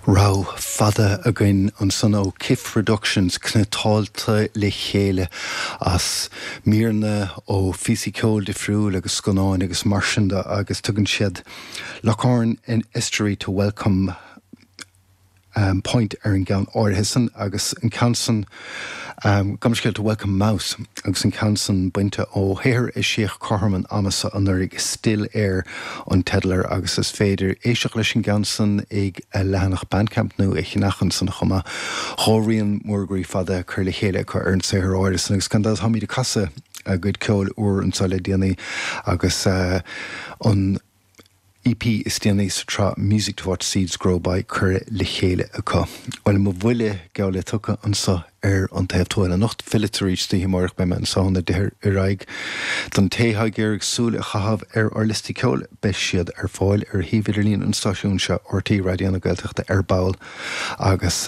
Rogha fada againn ansan ó Kiff Productions, cniotáilte le chéile as míreanna ó phíosaí ceoil difriúil agus scannáin agus mar sin de agus tugann siad Lough Erne and Estuary to Welcome Point ar an gceann áirithe san agus an ceann san, gabh mo leithscéal, to Welcome Mouth agus an ceann san bainte ó shaothar a eisíodh cothrom an ama so anuraidh, Still Air an teideal air agus is féidir éisteacht leis an gceann san ag a leathanach Bandcamp nó a cheannach ansan chomh maith. Dhá rian mór groí fada curtha le chéile acu ar an saothar áirithe san agus gan dabht táimid ag casadh a gcuid ceoil úr anso le déanaí agus an EP is déanaí sa tsraith Music to Watch Seeds Grow By curtha le chéile acu. Bhuel, mo bhuille geall le tugtha anso ar An Taobh Tuathail anocht. Fillfead arís istoíche amárach, beidh mé anso óna 10 ar aghaidh. Don té atá ag iarraidh súil a chaitheamh ar ár liostaí ceoil, beidh siad ar fáil ar shuíomh idirlín an stáisiúin seo, RTÉ Raidió na Gaeltachta ar ball agus.